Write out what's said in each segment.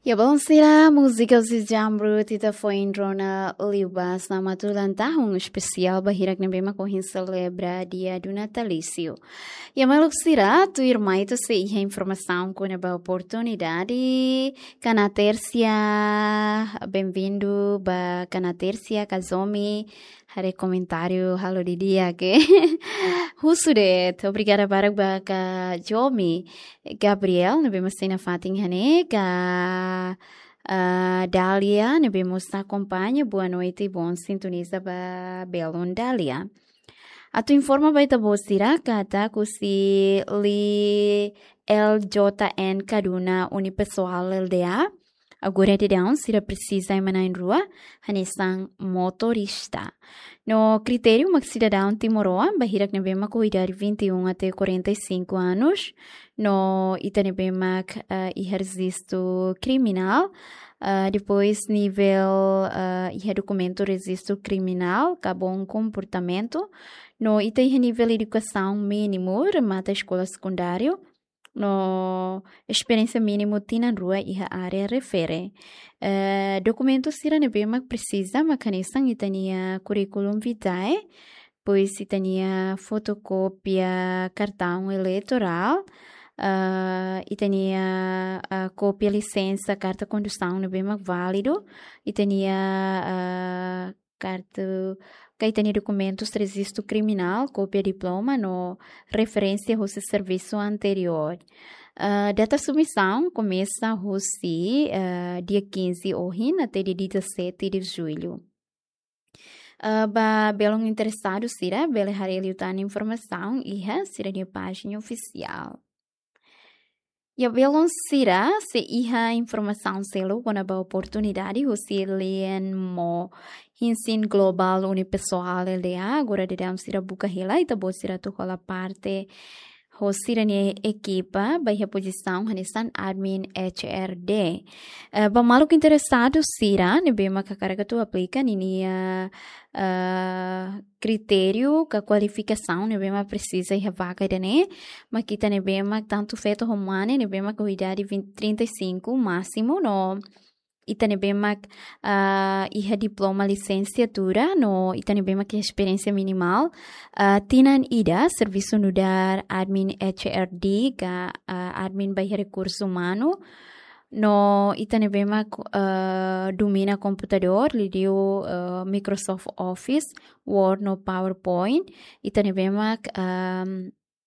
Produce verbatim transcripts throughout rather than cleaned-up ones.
Ya, bom, sira, múzika husi Jamrut ita foin rona liubá, selamat ulang tahun espesiál ba hirak ne'ebé mak ohin selebra dia do natalício. Ya, maluk sira, tuirmai ita sei iha informasaun kona-ba oportunidade, Kanatérsia, bem-vindo ba Kanatérsia, Kazomi, haree komentáriu halo didi'ak. Husu de'it, obrigada barak ba Kazomi. Gabriel, ne'ebé mós sei nafatin iha ne'e, ka, ah, Dália, ne'ebé mós akompaña, boa noite, bom sintoniza ba belun Dália. Atu informa ba ita-boot sira, katak husi L J N Kaduna Unipessoal L D A, agora daudaun sira presiza ema na'in-rua, hanesan motorista. No kritériu mak sidadaun timoroan, ba hirak ne'ebé mak ho idade vinte e um até quarenta e cinco anos, no ita ne'ebé mak, ah, iha rejistu kriminál, ah, depois nivel, ah, iha dokumentu rejistu kriminál, ka bom comportamento, no ita iha nivel edukasaun mínimu, remata eskola sekundáriu, no esperiénsia mínimu tinan rua iha área refere. Eh, dokumentu sira ne'ebé mak presiza, mak hanesan ita-nia curriculum vitae, depois ita-nia fotokópia kartaun eleitorál, ah, ita-nia, ah, kópia lisensa, karta kondusaun ne'ebé mak válidu, ita-nia, ah, karta, ka ita-nia dokumentus rejistu kriminál, kópia diploma, no referénsia husi servisu anteriór. Ah, data submisaun komesa husi, ah, dia quinze ohin até dia dezassete de julho. Ah, ba belun interesadu sira, bele haree liután informasaun iha sira-nia pájina ofisiál. Ya, belun sira, sei iha informasaun seluk kona-ba oportunidade husi Lienmo Hinsin Global Unipessoal L D A, agora daudaun sira buka hela, ita-boot sira atu hola parte ho sira-nia ekipa, ba iha pozisaun hanesan admin H R D. Eh, ba maluk interesadu sira, ne'ebé mak hakarak atu aplika ninia, eh, kritériu ka kualifikasaun ne'ebé mak presiza iha vaga ida-ne'e, mak ita ne'ebé mak tantu feto ho mane, ne'ebé mak ho idade vinte, trinta e cinco másimu, no ita ne'ebé mak, ah, iha diploma lisensiatura, no ita ne'ebé mak iha esperiénsia minimál, ah, tinan ida servisu nu'udar admin H R D ka, ah, admin ba iha rekursu umanu, no ita ne'ebé mak, ah, domina komputadór, liuliu, ah, Microsoft Office, Word no PowerPoint, ita ne'ebé mak, ah,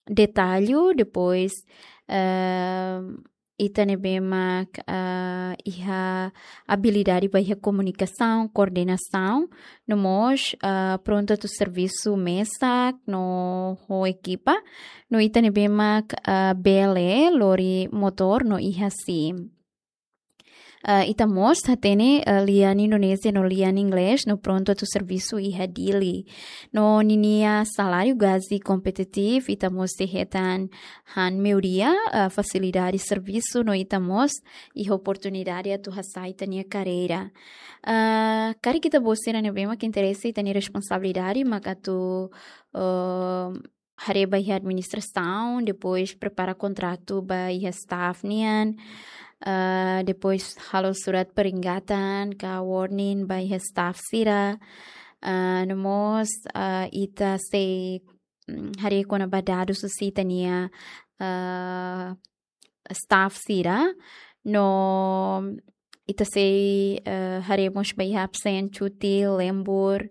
detallu, depois, ah, ita ne'ebé mak, ah, iha abilidade ba iha komunikasaun, koordenasaun, no mós, ah, prontu atu servisu mesak no ho ekipa, no ita ne'ebé mak, ah, bele lori motór no iha SIM. Ah, ita mós hatene, ah, lian Indonézia no lian Inglés, no prontu atu servisu iha Dili. No ninia saláriu gaji kompetitivu, ita mós sei hetan han meiudia, ah, fasilidade servisu, no ita mós iha oportunidade atu hasa'e ita-nia karreira. Ah, karik ita-boot sira ne'ebé mak interese, ita-nia responsabilidade mak atu, ah, haree ba iha administrasaun, depois prepara kontratu ba iha staff nian, ah, depois halo surat peringatan ka warning ba iha staff sira, ah, no mós, ah, ita sei, mm, haree kona-ba dadus husi ita-nia, ah, staff sira, no ita sei, eh, haree mós ba iha absen, cuti, lembur,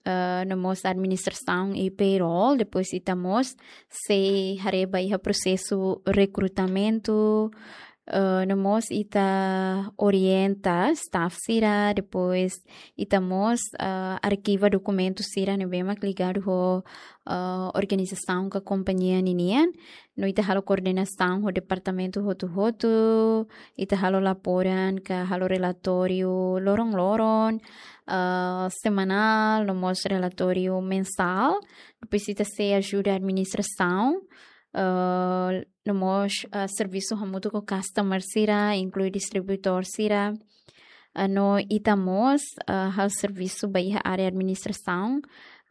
eh, no mós administrasaun i payroll, depois ita mós sei haree ba iha prosesu rekrutamentu, eh, no mós ita orienta staff sira, depois ita mós, eh, arkiva dokumentu sira ne'ebé mak ligadu ho, eh, organizasaun ka kompañia ninian, no ita halo koordenasaun ho departamentu hotu-hotu, ita halo laporan ka halo relatóriu loron-loron, ah, semanál, no mós relatóriu mensál. Depois ita sei ajuda administrasaun, ah, no mós, ah, servisu hamutuk ho customer sira, inklui distribuidór sira. Ah, no ita mós, ah, halo servisu ba iha área administrasaun,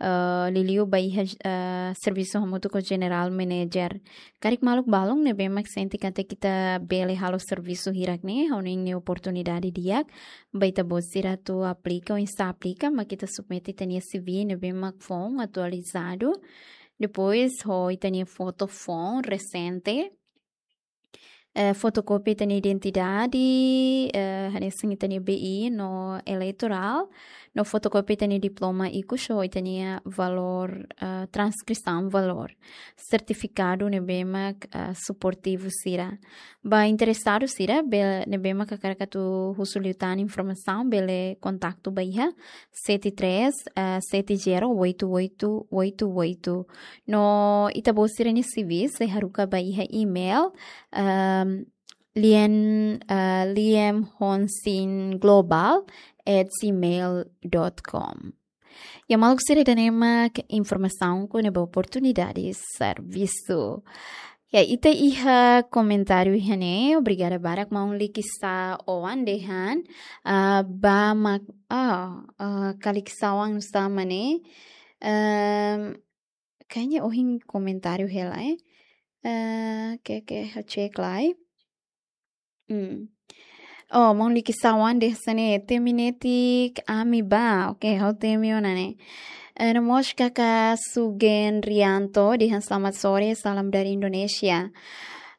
eh, liuliu ba iha, eh, servisu hamutuk ho General Manager. Karik maluk balun ne'ebé mak sente katak ita bele halo servisu hirak ne'e, ha'u hanoin ne'e oportunidade di'ak ba ita-boot sira atu aplika, oinsá aplika, mak ita submete ita-nia C V ne'ebé mak foun atualizadu. Depois, ho ita-nia foto foun resente. Eh, fotokópia ita-nia identidade, eh, hanesan ita-nia B I no eleitorál, no fotokópia ita-nia diploma ikus ho ita-nia valór, eh, transkrisaun valór. Sertifikadu ne'ebé mak, eh, suportivu sira. Ba interesadu sira, be-, ne'ebé mak hakarak atu husu liután informasaun, bele kontaktu ba iha sete três, eh, sete zero oito oito oito oito. No ita-boot sira-nia C V sei haruka ba iha email, ehm, Liam, eh, liamhonsinglobal at gmail dot com. Ya maluk sira, ida-ne'e mak informasaun kona-ba oportunidade servisu. Ya, ita iha komentáriu iha ne'e, obrigada barak maun Likisá Oan dehan, ah, ba mak, ah, ah, Kalikisá Oan nu'usá mak ne'e, ehm, kayaknya ohin komentáriu hela, eh. Eh, oke, oke, ha'u cek lai. Hmm. Oh, maun Likisá Oan dehan hanesan ne'e, temi netik ami bá. Oke, ha'u temi ona ne'e. Eh, no mós kaka Sugen Rianto dehan selamat sore, salam dari Indonesia.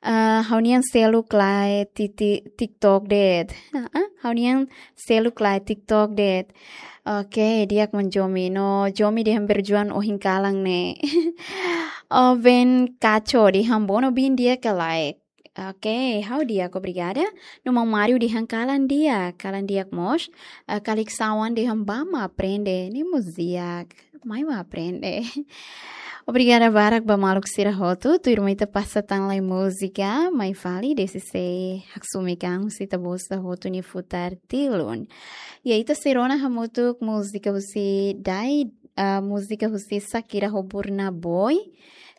Eh, ha'u-nian seluk lae ti-, ti-, TikTok de'it. Ah, ah, ha'u-nian seluk lae TikTok de'it. Oke, di'ak maun Jomi. No Jomi dehan berjuang ohin kalan ne'e. Oven Kacho dehan Bono bin di'ak ka lae. Oke, ha'u di'ak, obrigada. No maun Mario dehan kalan di'ak, kalan di'ak mós. Eh, Kalikisá Oan dehan bá mak aprende, ne'e mós di'ak. Mai mak aprende. Obrigada barak ba maluk sira hotu, tuirmai ita pasa tan lai múzika, mai fali desde se haksu mekan sita bosta hotu nia futar tilun. Ya, ita sei rona hamutuk múzika husi Dai, ah, múzika husi Shakira ho Burna Boy.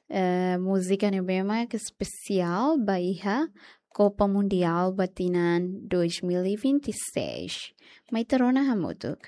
Eh, múzika ne'ebé mak espesiál ba iha Copa Mundial ba tinan dois mil e vinte e seis. Mai ita rona hamutuk.